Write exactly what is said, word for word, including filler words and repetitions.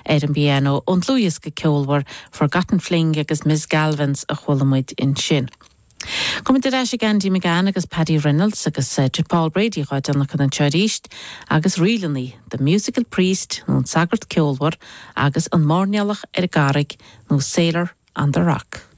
ar an bpianó ón dlúthdhiosca ceolmhar Forgotten Fling agus Miss Galvins a chuala muid ansin. Comid éis ag Andy McGann agus Paddy Reynolds agus uh, Paul Brady dhá déanach an teoríist agus rílannaí The Musical Priest nó an sagart ceolmhar agus an mairnéalach ar an gcarraig nó Sailor on the Rock.